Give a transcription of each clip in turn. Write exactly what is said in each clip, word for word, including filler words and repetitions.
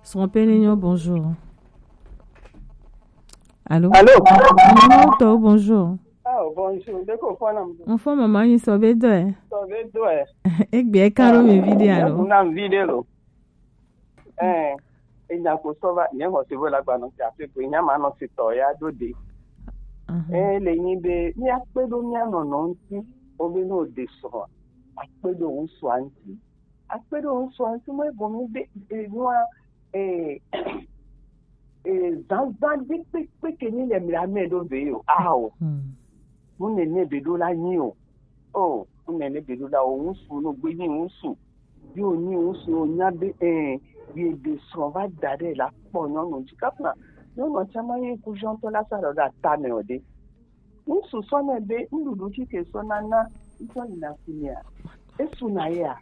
Srɔ̃penenyo, bonjour. Allô? Allô? Mama tɔwo, bonjour. Oh, bonjour. De ko fɔ nam? N fɔ mama nyi sɔ be dɔe. Sɔ be dɔe. Egbe ka ɖo mi vi de alo? Nam vi de lo. Eh, enya ko sɔ va, nye xɔ se vo la gba nɔ ti afi ko, nya ma nɔ si tɔ ya do de. Eh, le nyi be, mi akpe ɖo mia nɔnɔ ŋuti, o be no de sɔ, akpe ɖo ŋusua ŋuti. Akpe ɖo ŋusua ŋuti, mo ebo mi de, eh, nua, eh, eh, zanzan ɖe kpekpe ke ni le mi la me ɖo ve yo. Ao. Hmm. Mu nene be ɖo la nyi o. Oh, mu nene be ɖo la o ŋusu no gbe nyi ŋusu. Yo nyi ŋusu o nya be, eh, ye de srɔ̃ va da ɖe la kpɔ nyɔnu dzi. Kafuna nyɔnu tsã ma ye kujɔntɔ la sa ɖo ɖe ata me o ɖe. Ŋusu sɔ ne be nuɖuɖu tsi ke sɔ nana ŋutɔ yina si mea. Esu na yea.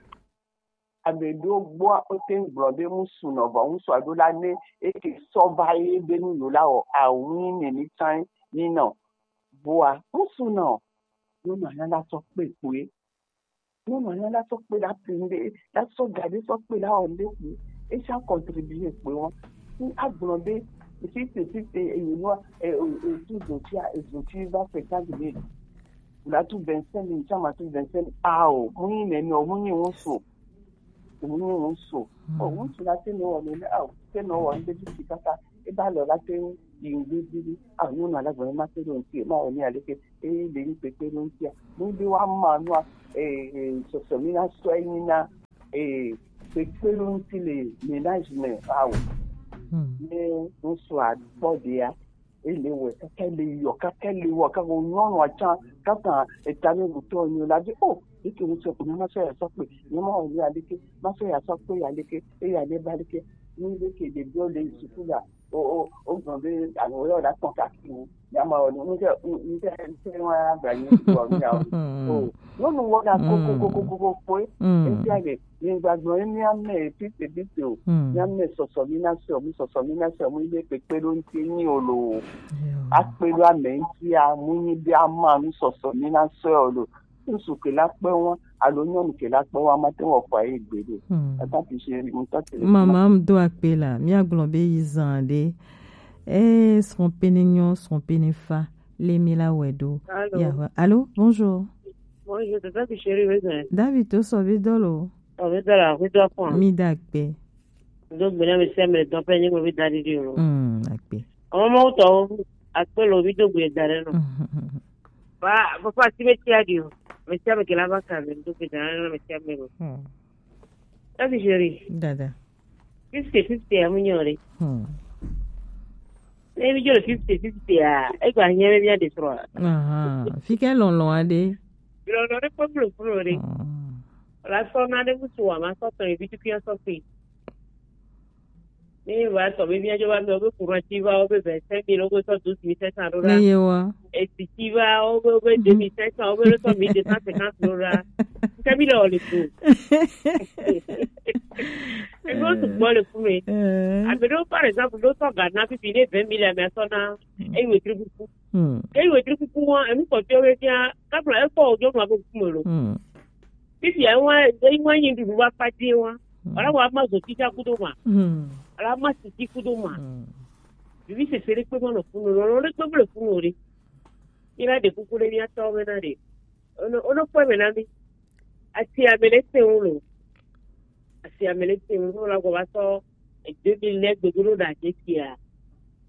Ame ɖewo gbɔa, wote ŋu gblɔ be ŋusu nɔ, vɔ ŋusu aɖo la ne eke sɔ va ye be nu yo la wɔ awu nyi nene tsã ni nɔ. Vɔa, ŋusu nɔ, nyɔnu anya la sɔ kpe kpoe. Nyɔnu anya la sɔ kpe la pi ŋɖe, la sɔ ga ɖe sɔ kpe la wɔ ŋɖe kpoe. Esa contribuer kpoe wɔn. Ni agblɔ be, fifty fifty, eye nua, e, e, e, tu zoti a, e zoti va cinquante mille. La tu vingt-cinq mille, tsã ma tu vingt-cinq mille. Ao, mu nyi nene o, mu nyi ŋusu. Ŋutsu la te nɔ wɔ nene, ao, te nɔ wɔ ŋɖe vi si kaka, eba lɔ la te yi ŋɖe vi ɖe, ao, nyɔnu ala gblɔ ma te ɖo ŋuti, ma wɔ ni aleke, e le ni kpekpe ɖo ŋutia. Nu ɖe wa ma nua, e, e, sɔsɔ mi na sɔ enyi na, e, kpekpe ɖo ŋuti le ménage me, ao. Hmm. Ne ŋutsu a gbɔ ɖea, ele wɔ kaka ele yɔ kaka ele wɔ kaka o nyɔnu atsa kaka eta ne wutɔ nyo la di o eke ŋutsu ko ma sɔ ya sɔ kpe ne ma wɔ ni aleke ma sɔ ya sɔ kpe ya leke eya ne ba leke ni leke ɖeviwo le suku la o o o gbɔn be alo yɔ la tɔn kaki o ya ma wɔ ni ŋutɛ ŋutɛ ŋutɛ wa gba nyi wɔ ni ya o o nyɔnu wɔ la kokokokoko kpoe etia le Nyigbagbɔ ye mía mɛ pite pite o. Hmm. Mía mɛ sɔsɔ mi na sɔ mi sɔsɔ mi na sɔ mi be kpekpe ɖo ŋuti nyi o lo. Yo. Akpe ɖo ame ŋuti a mu nyi be ama nu sɔsɔ mi na sɔ o lo. Ŋsu ke la kpe wa alo nyɔnu ke la kpe wa ma te wɔ kɔ ayi gbe ɖo. Hmm. Ata ti se ri ŋutɔ te. Mama m do akpe la, mía gblɔ be yi zan ɖe. Eh, srɔ̃ pene nyɔ, srɔ̃ pene fa, le mi la wɛ ɖo. Allô? Yahweh. Allô, bonjour. Bonjour, c'est ça que chérie, oui, c'est. David to sɔ be dɔ lo. Ɔ, mi da la, mi do akpɔn. Mi da akpe. Do gbe na mi se mi dɔ pe nyi mo bi da di di o. Mm, akpe. Ɔmɔ mo tɔ akpe lo bi do gbe da re no. Mm. Ba, ba fa si me ti a di o. Me ti a me ke la ba ka me do gbe da re no me ti a me lo. Mm. David chéri. Dada. Fifty fifty ya mu nyɔ re. Hmm. Ne mi jɔ le fifty fifty ya, e gba hiɛ be mía de srɔ̃. Aha, fi ke lɔlɔ aɖe. Lɔlɔ ɖe kpɔ blo blo ɖe. Hmm. La sɔ na ɖe ŋutsu wa ma sɔ tɔ ebi tukui sɔ kpe. Ne va tɔ be mía jɔ va mi o be courant ti va o be vingt-cinq mille o be sɔ douze mille cinq cents ɖo ɖa. Ne ye wa. Esi ti va o be o be deux mille cinq cents o be le sɔ mille deux cent cinquante ɖo ɖa. Ke mi le o le ko. Ego sugbɔ le ku me. Eh. Ame ɖewo, par exemple, ɖo sɔ ga na pipi ne vingt mille ame sɔ na. Hmm. Eyi wetri kuku. Hmm. Eyi wetri kuku wa, enu kpɔtɔe be fia, kapla ekpɔ o jɔ ma be kuku me lo. Hmm. Pipi ya wa, eyi wa nyi ɖuɖu wa kpa die wa. Hmm. Wala wa ma zo tita kudo ma. Hmm. Wala ma siti kudo ma. Hmm. Bibi sese ɖe kpe ma le funu, lɔlɔ ɖe kpe ma le funu ɖe. Mi la ɖe kuku ɖe mía tɔ me na ɖe. Ono, ono kpɔe me na mi. Asi ame ɖe te ŋu lo. Asi ame ɖe te ŋu lo la gɔ va sɔ deux mille ne gbedo ɖo ɖa je sia.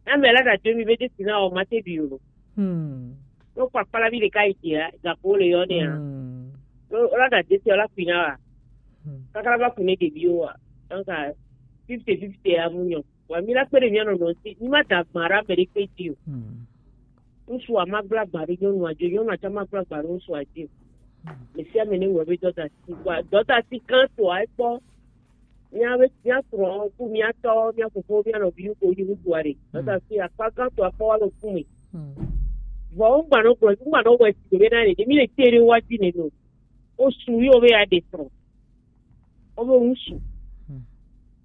Na me la ɖa deux mille be je si na o ma te bi o lo. Hmm. No kpakpa la bi ɖeka yi sia, ga ko le yɔ ne a. Hmm. No la ɖa je sia la kui na wa. Hmm. Kakra va kui ne ɖeviwo wa. Donc, fifty fifty ya mu nyɔ. Wa mi la kpe ɖe mía nɔnɔ ŋuti. Mi ma da agba ɖe ame ɖe kpe dzi o. Hmm. Ŋutsua ma gblɔ agba ɖe nyɔnua dzi o, nyɔnua tsã ma gblɔ agba ɖe ŋutsua dzi o. Hmm. Ame sia ame ne wɔ be dɔdasi. Wa dɔdasi gãtɔa ekpɔ. Mía be, mía srɔ̃ ku mía tɔ, mía fofo, mía nɔviwo ko yi ŋutsua ɖe. Hmm. Dɔdasi akpa gãtɔa kpɔ wa le ku me. Hmm. Vɔ ŋgba nɔ gblɔ, ŋgba nɔ wɔ esi be na ɖe, ɖe mi le te ɖe wa dzi ne no. Wo su ye wo be ya ɖe srɔ̃. Wo be ŋusu. Hmm.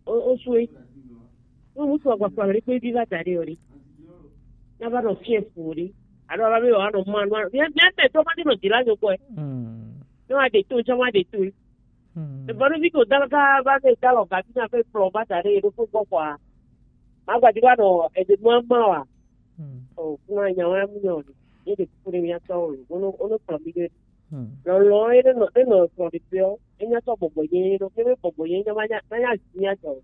Wo, wo su ye. Wo ŋusu agba kpɔ ɖe kpe vi va da ɖe o ɖe. Na va nɔ fiɛ fu o ɖe. Alo va be wa nɔ ma nɔ. Mía, mía te tɔ ma ɖe nɔ dzi la nyɔ kpɔe. Hmm. Ne wa ɖe to, tsã wa ɖe to. Vɔɖevi ko dalo ka va se dalo gabi na fe kplɔ ba da ɖe yeɖo fo gbɔ kɔa. Ma gba di va nɔ ede mɔ ma wa. O kuna nya wa mu nyɔ ni. Ye de ku de mi atɔ o. Ono ono kplɔ mi de. Lɔlɔ ye ne nɔ ne nɔ kplɔ de pe o. Enya tɔ bɔbɔ ye no. Ke be bɔbɔ ye nya ma nya ma nya zi nya tɔ.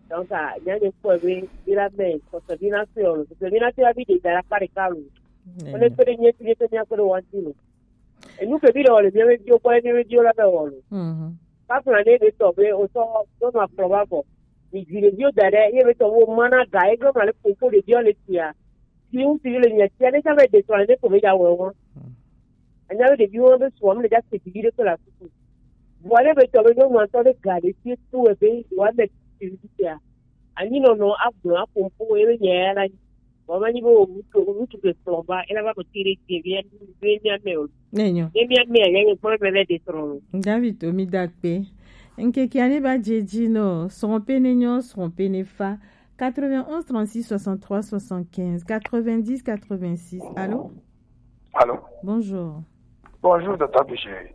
Donc, nya ne kpɔ be bi la me, kɔsɔ bi na se o. Kɔsɔ bi na se bi de da la kpa de ka lo. Ono pe de nye ti de pe nya ko de wa ti lo. Enu ke bi le wɔ le mía be viwo kpɔ ye mía be viwo la be wɔ lo. Kpakpla ne be tɔ be o sɔ do ma kplɔ ba bɔ. Mi dzi le viwo da ɖe ye be tɔ wo ma na ga ye gbe ma le koko le viwo le tia. Ti ŋu ti le nya tia ne sa be de tɔ ne ko be ya wɔ wɔ. Anya be de viwo be sɔ mi le ja se ti de ko la kuku. Vɔ ne be tɔ be nyɔnu atɔ de ga le ti tu e be wa me ti tia. Anyi nɔnɔ agblɔ aƒo ƒo ye be nya ya la nyi. Vɔ ma nyi be wo ŋutsu ŋutsu ke kplɔ va ela va ko ti ɖe dze via be mia me o. Nenyo. Ne mia me ya ye kpɔ be le de trɔ lo. David to mi da kpe. Nkeke ane ba dze dzi no srɔ̃ pe ne nyɔ srɔ̃ pe ne fa. Quatre-vingt-onze trente-six soixante-trois soixante-quinze quatre-vingt-dix quatre-vingt-six. Allô? Allô? Bonjour. Bonjour, docteur Boucher.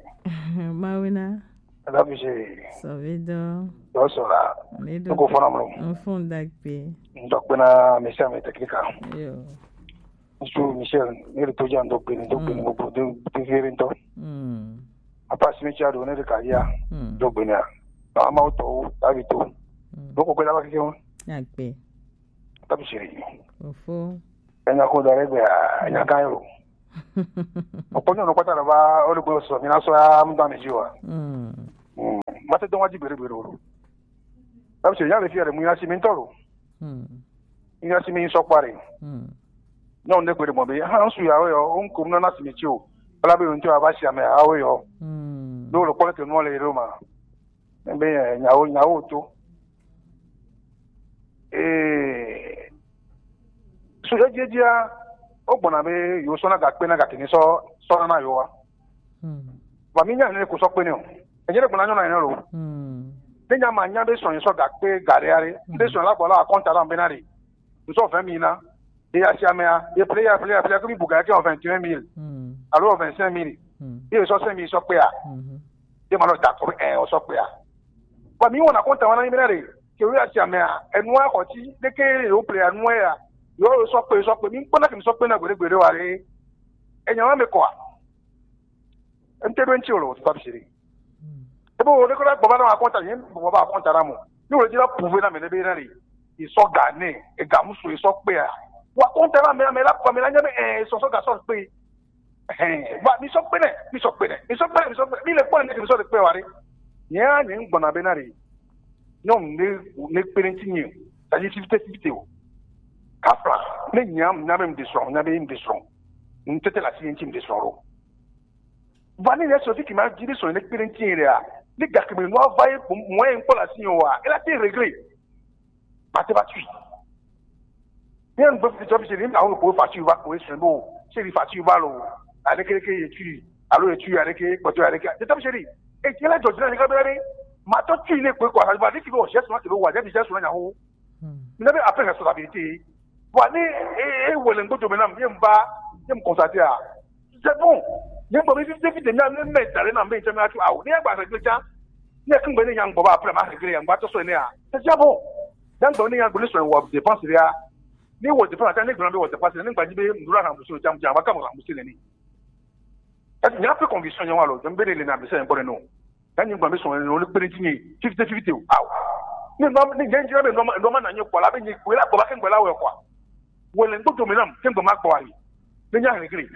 Mawena. Docteur Boucher. Savedo. Bonsoir. Nedo. Noko fona mlo. Enfond dakpe. Ndokpena misia me teknika. Yo. Nsu Michel, ne le toja ndokpeni, ndokpeni mo bo de de vere ndo. Mm. Apa simi cha do ne de karia. Mm. Ndokpeni a. Ama o to, abi to. Mm. Noko kwela ba kike mo. Dakpe. Tabi siri. Ofo. Enya ko dare gbe a, enya kan yo. Opo nyo no kwata ba o le ko so mi na so ya mu da mi jiwa. Mm. Mm. Ma te don wa ji bere bere o. Tabi siri ya le fi ya le mu ya si mi ntoro. Mm. Ya si mi so pare. Mm. No nde ko de mo be ha nsu ya o yo, o nko na na si mi ti o. Bala be o nto aba si ame a o yo. Mm. Do lo ko le ke no le ro ma. Be nyawo nyawo to. Ee, su edziedzia, wogbɔna be yewo sɔna gakpe na gake ni sɔ sɔna na yewoa. Ba mi nya ne ko sɔ kpe ne o. Enye ɖe gbɔna nyɔna ne lo. Ne nya ma nya be sɔ sɔ gakpe gare are. Be sɔ la gbɔ la akɔnta la be na re. Nsɔ vingt mille na. Ye ya si amea, ye ple ya ple ya ple ya ke mi buga ke vingt et un mille. Alo vingt-cinq mille. Ye sɔ cinq mille sɔ kpea. Ye ma nɔ da kɔ ɛ o sɔ kpea. Wa mi wɔna kɔnta wɔna mi na re. Ke wo ya si amea, enua kɔ ti de ke yo ple anua ya. Yo sɔ kpe sɔ kpe mi kpɔna ke mi sɔ kpe na gbede gbede wa re. Enya wa me kɔa. N te ɖo eŋuti o le wò tutu abisi ɖe. Ebe wò ɖe ko la gbɔ va na wò akɔnta, nye gbɔ va akɔnta na mo. Ne wò le dzi la prouver na me ɖe be na ɖe, yi sɔ ga ne, ega musu yi sɔ kpea. Wò akɔnta na me, ame la kpɔ, ame la nya be, eh, sɔ sɔ ga sɔ kpe. Eh, wa mi sɔ kpe ne, mi sɔ kpe ne, mi sɔ kpe ne, mi sɔ kpe ne, mi le kpɔ ne mi sɔ le kpe wa ɖe. Nye ya nye ŋgbɔna be na ɖe. Nyɔnu ne ne kpe ne ŋuti nye, ta nye fifite fifite o. Kafla, ne nya nya be ŋde srɔ̃, nya be ŋde srɔ̃. Ŋtete la si ŋuti ŋde srɔ̃ ɖo. Va ne ya sɔ fi kima dzi be sɔ ne kpe ɖe ŋuti ɖea, ne gake me nua va ye mɔ ye ŋkpɔ le asi wa, ela te regret. Mate va tui. Ne ŋgbe fi tɔ fi se ni awo ko fa tui va ko esrɔ̃ bo, se ni fa tui va lo. Aleke leke ye tui, alo ye tui aleke kpɔtɔ aleke. Te tɔ fi se ni. E ti la jɔ dzi na ni ka be la be. Ma tɔ tui ne ko ko fa va ni ki bo je sɔ ke be wa, je bi je sɔ na ho. Mi na be appel responsabilité. Bon, ni e e wele ŋgbo dome nam, ye mba, ye m constater a. C'est bon. Ye mba mi fi fi de mi na me dale na me teme atu awo. Ni agba se gbe ja. Ni ke ngbe ni ya ngbo ba appel ma se gbe ya ngba to so ni a. C'est déjà bon. Ya ngbo ni ya ngbo ni so wo dépense ya. Ni wo dépense ta ni ngbo be wo dépense ni ngba ni be ndura na musu ja ja ba ka mo musu ni. Nya pe conviction nya wa lo, je mbe le na be se ngbo no. Ya nyi gba be sɔn no le kpere ti nyi fifty fifty o. Aw. Ni no ni nyi nyi be no no ma na nyi kwa la be nyi kwa la kwa ke ngba la we kwa. Wo le ngbo do me nam ke ngba ma kwa yi. Ni nya regret.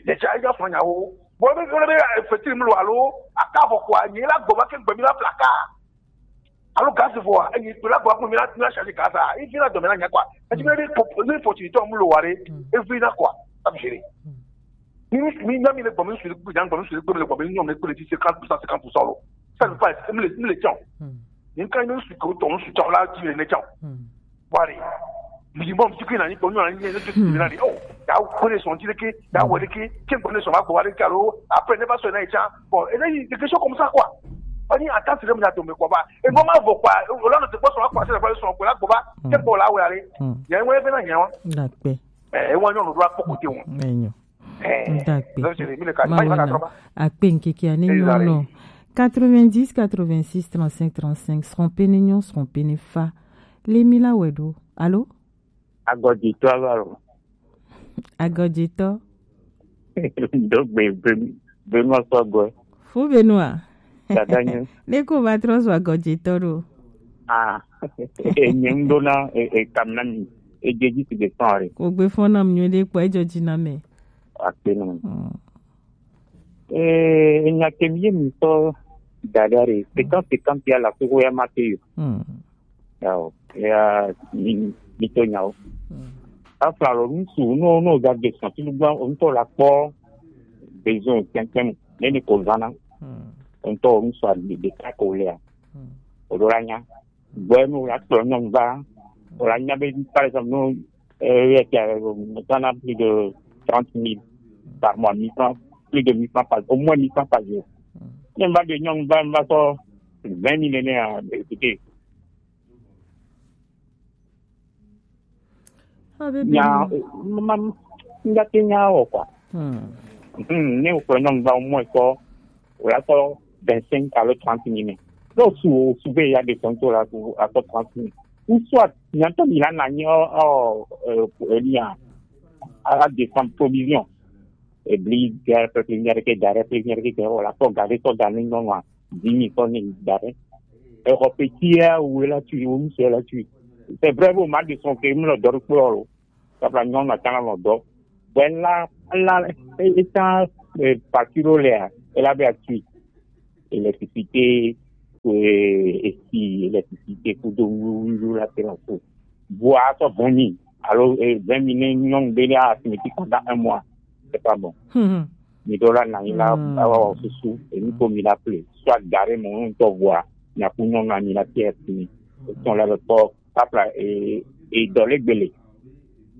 Ni cha ya fo nya wo. Bo be be fetiri mu lo alo aka fo kwa nyi la gbo ba ke ngba mi la plaka. Alo gaz fo a nyi kwa la gbo ko mi la mi la charge gaz a. E fi la do me na nya kwa. E ti be ni opportunité mu lo wa re. E fi na kwa. Abjere. Mi mi mi nya mi le gbɔ mi su le gbɔ mi su le gbɔ mi le gbɔ mi nyɔ mi le gbɔ le ti cinquante pour cent cinquante pour cent lo. Ça ne pas mi le mi le tiens. Mi kan mi su ko ton su tiens la ti le ne tiens. Wari. Mi mo mi ki na ni ko nyɔ na ni ne tu na ni. Oh, ya ko le son ti le ke, ya wo le ke, ke ko le son ma ko wari ka lo. Après ne pas son na tiens. Bon, et là il y a des questions comme ça quoi. On y attend c'est le monde a tombé quoi ba. Et moi ma vo quoi. O la no te ko so quoi, c'est la son quoi la quoi ba. Ke ko la wo ya le. Ya mo e be na nya wa. Dakpe. Eh, e wa nyɔ no do akpɔ kote wo. Enyo. Ndakpe. Mawena. Akpe nkeke ane nyɔnɔ. Quatre-vingt-dix, quatre-vingt-six, trente-cinq, trente-cinq, srɔ̃ pene nyɔ, srɔ̃ pene fa. Le mi la wɛ ɖo. Alo? Agɔditɔ ava lo. Agɔditɔ. Do gbe be, be nɔ sɔgɔ. Fu be nua. Dada nye. Ne ko va trɔ zɔ agɔditɔ ɖo. Ah, enye ŋɖo na, e, e, kam na mi. Edze dzi si de sɔn re. Ko gbe fɔ nam nyuie ɖe kpɔ edzɔ dzi na me. Akpe na mi. Hmm. Eh, enya ke mi ye mi sɔ dada re. Pekan, pekan pia la ko ya ma te yo. Hmm. Yawo, ya, mi, mi to nyawo. Hmm. Afla lo ŋutsu, no, no, ga de sɔn, tu gba, ŋutɔ la kpɔ, besoin kpɛnkpɛn, ne ni ko zana. Hmm. Ŋutɔ ŋutsu a de, de ka ko le ya. Hmm. O do la nya. Gbɔ nu la kplɔ nyɔnu va. O la nya be, par exemple, no, euh, ya, ya, euh, maintenant plus de trente mille par mois, mille francs, plus de mille francs par, au moins mille francs par jour. Hmm. Ne va de nyɔnu va, va sɔ vingt mille ne a, écoutez, Abe nya, benu. Ma, ma, nga te nya o quoi. Hmm. Hmm, ne o kplɔ nyɔnu va au moins kɔ, o la kɔ vingt-cinq alo trente mille. Donc, su, su be ya de tonto la, ku, a kɔ trente mille. Ou soit, nya to mi la na nyi o, o, euh, euh, nya, a, a descend provision. Ebli, gare, peuple, nya de ke gare, peuple, nya de ke gare, o la kɔ gare, sɔ gare, non, non. Dix mille tɔn ni da ɖe. Exɔ petit ya wo la tui, wo ŋutsu la tui. C'est vrai, bon, ma de son ke mlɔ dɔ ɖokpo lo. Kapla nyɔnu na tana nɔ dɔ. Bɛ la, la, e, e ta, e, facture le ya, e la be atui. Électricité, e, esi, électricité, kudo, wu, wu, wu, la, te la so. Vɔa sɔ vingt mille, alo, eh, vingt mille ne nyɔnu be ne a signé pendant un mois, c'est pas bon. Hmm. Mi do la na yi la, hmm, awa wa susu, et mi ko mi la ple. Soit gare mo, on to voir, na ku nyɔnu na mi la te a signé. Ton la le pɔ, papla, eh, eh, dɔ le gbele.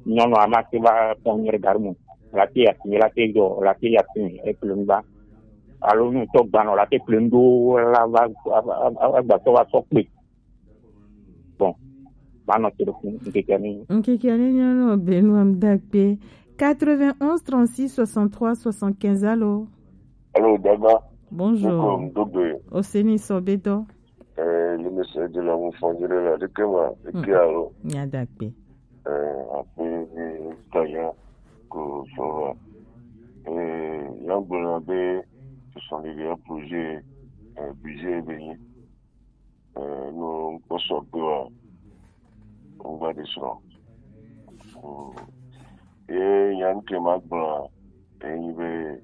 Nyɔnu a ma se va pon nyere gare mo. La te a signé, la te do, la te a signé, e ple ngba. Alo nu to gba no, la te ple ndo, la va, va, va, va, va, to va so pe. Bon, ma nɔ te ɖo funu ŋkeke ni. Ŋkeke ni nyɔnu Benoît Mdakpe. Quatre-vingt-onze, trente-six, soixante-trois, soixante-quinze, allô? Allô, Daba. Bonjour. Nko Mdogbe. Oseni Sobeto. Eh, le message de l'amour fondé de la de Kema, de Kiaro. Nya Dakpe. Eh, après, eh, Kaya, ko Sora. Eh, Yambona be, ce sont des grands projets, eh, budget béni. Eh, no kpɔ sɔgbe wa, ŋgba ɖe srɔ̃. Mm. Ye nya ŋke ma gblɔ, enyi be,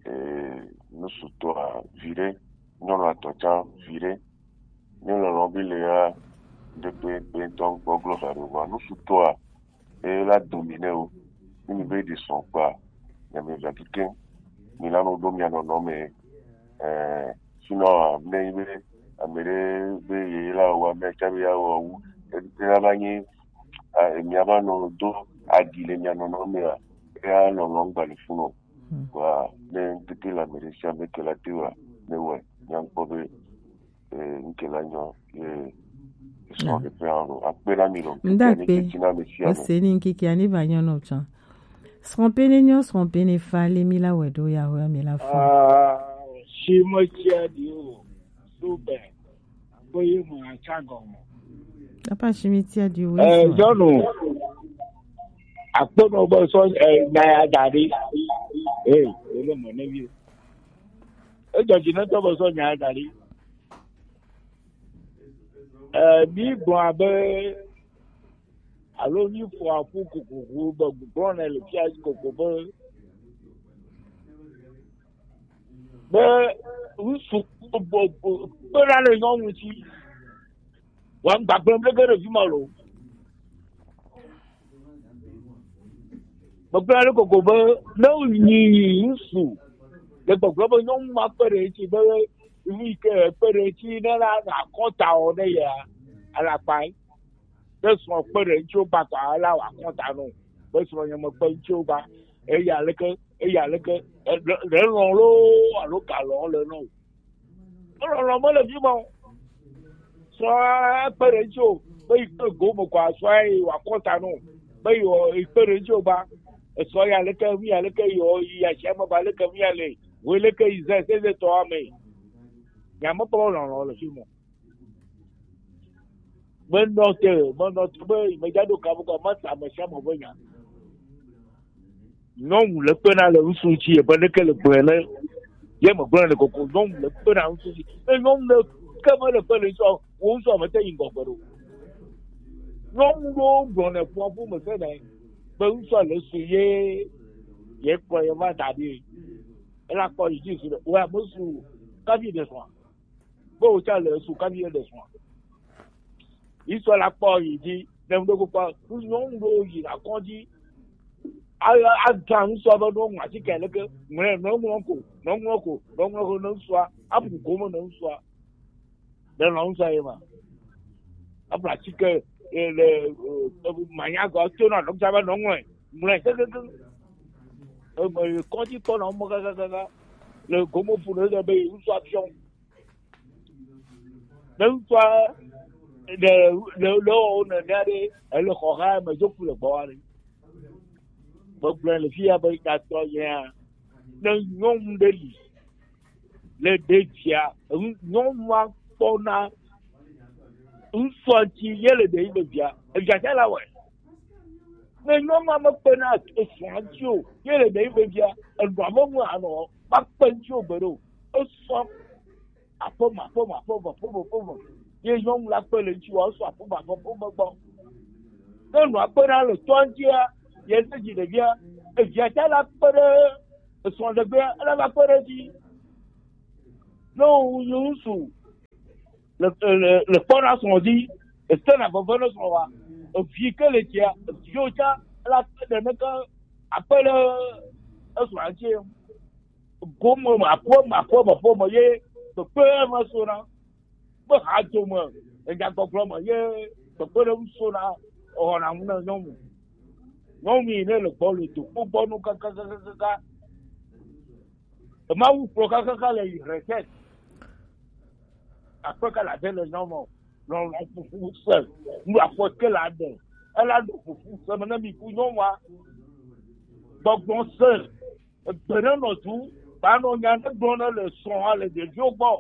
eh, nusutɔa viɖe, nyɔnu atɔ tsã viɖe, ne lɔlɔ̃ bi le ya, ɖe kpe, kpe ŋutɔ ŋkpɔ gblɔ va ɖo vɔa, nusutɔa, e la domi nɛ o. Ne mi be ɖi sɔn kpa, nya mi va kike, mi la no ɖo mia nɔnɔ me. Eh, sinon, ne yi be, ame ɖe be ye la wa me tsa be ya wɔ wu, e, e la va nyi, a, e mia va nɔ do adi le mia nɔnɔ me a, e ya nɔnɔ ŋgba le funu. Hmm. Wa, ne tete la me ɖe sia me ke la te wa, ne wɔ, nya ŋkpɔ be, eh, ŋke la nyɔ, eh, sɔ de pe alo akpe na mi lo. Nda akpe. Ose ni ŋkeke ani va nyɔ nɔ tsã. Srɔ̃ pene nyɔ, srɔ̃ pene fa, le mi la wɛ ɖo ya wɛ mi la fɔ. Ah, si mo tia di o. Super. Ko ye mo atsa gɔmɔ. Papa si mi tia di o. Eh, jɔnu. Akpe no bo so, eh, na ya dari. Eh, ele mo ne bi. Ejɔ dzi ne tɔ be sɔ nya da ɖi. Eh, mi gblɔ abe, alo mi fɔ aƒu kokoko be gblɔ ne le fia koko be, be ŋutsu kpena le nyɔnu ŋuti. Wa ŋgba gblɔm ɖeke ɖe fi ma lo. Megblɔ ɖe koko be ne wònyi ŋutsu le gbɔgblɔ be nyɔnu ma kpe ɖe eŋuti be nu yi ke ekpe ɖe eŋuti ne la nɔ akɔta wɔ ne yea, ele akpa yi. Ne srɔ̃ kpe ɖe eŋuti wogba tɔ la wɔ akɔta nɔ be srɔ̃ nye mekpe eŋuti wogba. Eya leke, eya leke, ɖe lɔ̃ loo alo galɔ̃ le nɔ o. Lɔlɔ̃ mele fi ma o. Srɔ̃a ekpe ɖe eŋuti o, be yi kpe go me kɔ asrɔ̃a yi wòakɔ ta nɔ, be yi wɔ-, yi kpe ɖe eŋuti o ba. Esrɔ̃ ya leke, mi ya leke yi wɔ, yi asia me ba leke mi ya le, wo leke yi ze, se ze tɔ ame. Nya me kpɔ lɔlɔ le fi mo. Me nɔ te, me nɔ te be me dza ɖo kabu ka, me sa me sia me be nya. Nyɔnu le kpena le ŋutsu ŋuti, ebe ɖeke le gblɔe ne ye me gblɔe le koko. Nyɔnu le kpena ŋutsu ŋuti. Ne nyɔnu le ke me le kpe le ŋutsu, wo ŋutsu me te yi ŋgɔgbe ɖo. Nyɔnu ɖo gblɔ ne ƒua ƒu me se ne be ŋutsu le su ye ye kplɔ ye va da ɖi. Ela kpɔ yi dzi su ɖe. Wa me su kavi ɖe sɔa. Be wòtsa le esu kavi eɖe srɔ̃a. Yi sɔ la kpɔ yi dzi ne ŋɖo kpokpɔ nyɔnu ɖo yi la kɔdzi. Aga ŋusɔ be ɖo ŋu atike leke ŋlɛ nɔŋlɔ ko nɔŋlɔ ko nɔŋlɔ ko ne ŋusɔa abu gome ne ŋusɔa. Ne nɔ ŋusɔa ye ma. Abu atike le manya gɔ tso na nɔŋusɔa be nɔŋlɔ ŋlɛ kekeke. Eme kɔdzi kpɔ na mɔ kakakaka le gome ƒo ne be ŋusɔa fiɔ. Ne ŋutsua ɖe le le wɔ nene aɖe ele xɔ xa me dzo ku le gbɔ aɖe. Gbɔgblɔ le fi ya be tatɔ yea ne nyɔnu ɖe li le ɖe via nyɔnua kpɔna ŋutsua ŋuti ye le ɖe yi be via evia tsa la wɔe. Ne nyɔnua mekpena esrɔ̃a ŋuti o ye le ɖe yi be via enɔa me ŋu anɔ makpe ŋuti o gbe ɖo esɔ aƒeme aƒeme aƒeme aƒeme aƒeme ye nyɔnu la kpe le ŋuti wa sɔ aƒeme aƒeme aƒeme gbɔ. Ne nɔa kpe ɖa le tɔa ŋutia ye ne dzi ɖevia evia ta la kpe ɖe esrɔ̃ɖegbea ele va kpe ɖe edzi. Ne wòwu yi ŋutsu le le le kpɔ na srɔ̃ dzi ese na veve ne srɔ̃ wa evi ke le dzia eviwo tsa la kpe ɖe ne ke akpe ɖe esrɔ̃a ŋuti. Gome me aƒe me aƒe me aƒe me ye kpekpe me sona. Be hadzome enyagbɔgblɔ me ye kpekpe ɖe ŋu sona. Ewɔna ŋu na nyɔnu. Nyɔnu yi ne le gbɔ le dokpo gbɔ nu kakakakaka. Emawu kplɔ kakaka le yi retraite. Akpe ka la de le nyɔnu lɔlɔ fufu se nu afɔ ke la de. Ela ɖo fufu se me ne mi ku nyɔnua. Gbɔgbɔ se. Egbe ne nɔ du ba nɔ nya ne gblɔ ne le srɔ̃a le ɖeviwo gbɔ.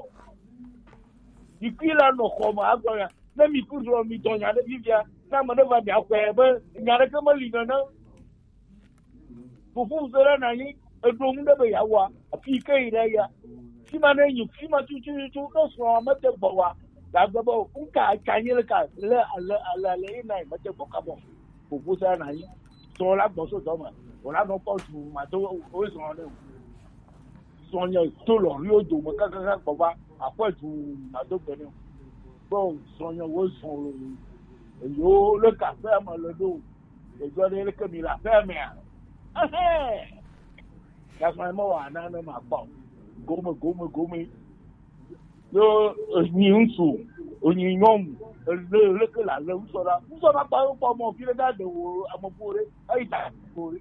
Yikui la nɔ xɔ me agblɔ ya ne mi ku gblɔ mi dɔ nya ɖe fifia ne ame ɖe va mia xɔe be nya ɖeke meli nene. Fufu se ɖe na nyi eɖo ŋu ɖe be ya wa afi yi ke yi ɖe ya. Fi ma ne yi fi ma tututu ne srɔ̃a me te gbɔ wa. Gagbe be ŋka atsa nyi le ka le ale ale ale yi na yi me te gbɔ ka bɔ. Ƒoƒo sa na yi. Srɔ̃ la gbɔ so dɔ me. Wòla nɔ kpɔ du ma do wo zrɔ̃ ne. Srɔ̃ nye to lɔriwo dome kakaka gbɔ va aƒe du ma do gbe ne. Gbɔ srɔ̃ nye wo zrɔ̃ lo. Eyo le kaƒe me le ɖo. Eyo ɖe le ke mi le aƒe mea. Ehɛ. Gasɔ me wa na ne ma kpɔ. Gome gome gome. Yo, enyi ŋutsu, enyi nyɔnu, ele leke la le ŋutsu la. Ŋutsu la kpa kpɔ mɔ fi ɖe ga de wo ame ƒo ɖe, eyi ta ko ɖe.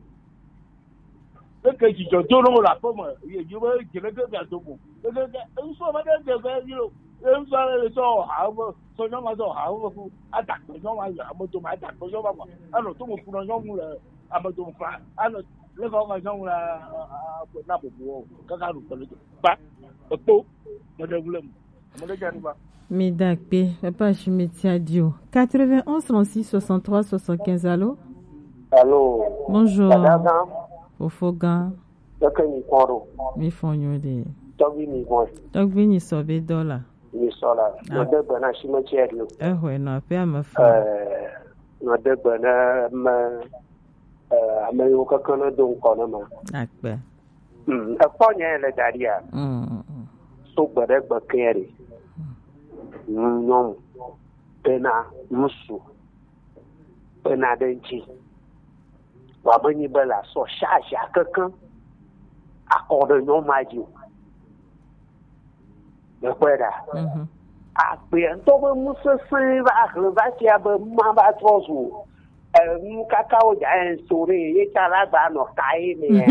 Leke dzidzɔ do no la ƒe me, ye yi be dze leke ga do mo. Leke ga ŋutsu ma ɖe de be yi lo. Ye ŋutsu la le sɔ ha me, sɔ nyɔnu ma sɔ ha me ku. Ada kpe nyɔnu ma ya ame do ma ada kpe nyɔnu ma. Ano to mo ku nyɔnu le ame do ma. Ano le ko ma nyɔnu la na bobo. Kaka ru kpe le do. Ba, ekpo, mede ŋu le mu. Mede dza ɖu ba. Mi da kpe, papa Ashimeti Adio. Quatre-vingt-onze trente-six soixante-trois soixante-quinze, allô? Allô? Bonjour. Dada gã. Fofo gã. Keke mi kpɔ ɖo. Mi fɔ nyo de. Tɔgbi mi bɔ. Tɔgbi ni sɔ be dɔla. Mi sɔ la. Ah. Mede gbe na Ashimeti Adio. Ehwe nɔ aƒea me fɔ. Eh, mede gbe na me, eh, ame yiwo keke ne do ŋkɔ ne ma. Akpe. Mm, ekpɔ nya le da ɖia. Mm, mm, mm. So gbe ɖe gbe ke ɖe. Mm, nyɔnu bena ŋutsu bena ɖe ŋuti. Vɔ menyi be la sɔ charge kekeŋ akɔ ɖe nyɔnu ma dzi o. Mekpɔe ɖa. Mhm. Agbea ŋutɔ be ŋusesẽ va hlẽ va fia be ma va trɔ zu o. Enu kakawo dza yen so ɖe ye tsa la gba nɔ ka ye me ya.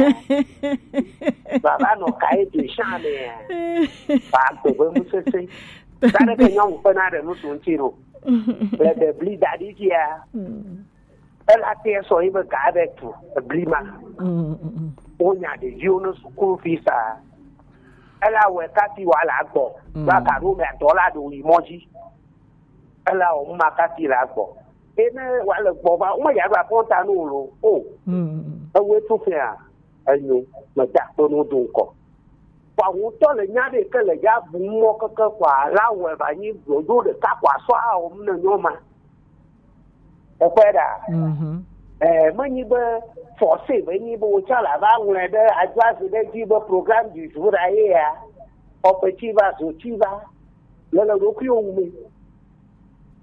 Baba nɔ ka ye de shan me ya. Ba gbe be ŋusesẽ. Ta ɖe ke nyɔnu ƒe na ɖe ŋutsu ŋuti ɖo. Le bebli da ɖi fia. Mm. Ela te sɔ yi be ga be tu ebli ma. Mm, mm, mm. Wonya ɖeviwo ne school fees a. Ela wɛ kati wa la gbɔ. Mm. Ba ka ɖo mɛ dɔ la ɖo yi mɔ dzi. Ela wɔ mu ma kati la gbɔ. Ene wa le gbɔ ba, wo me ya ɖo akɔnta nu lo. O. Mm. Ewe to fia. Enyo, me da kpe nu do ŋkɔ. Kwa ŋutɔ le nya ɖe ke le ya bu mɔ keke kwa la wɛ ba nyi ɖoɖo ɖeka kwa sɔ a wɔ mu ne nyɔ ma. Ekpɔe ɖa. Mhm. Eh, menyi be forcé be nyi be wotsɔ la va ŋlɔe ɖe advaze ɖe dzi be programme du jour a ye ya. Xɔƒe tsi va, zo tsi va. Le le ɖokuiwo wu me.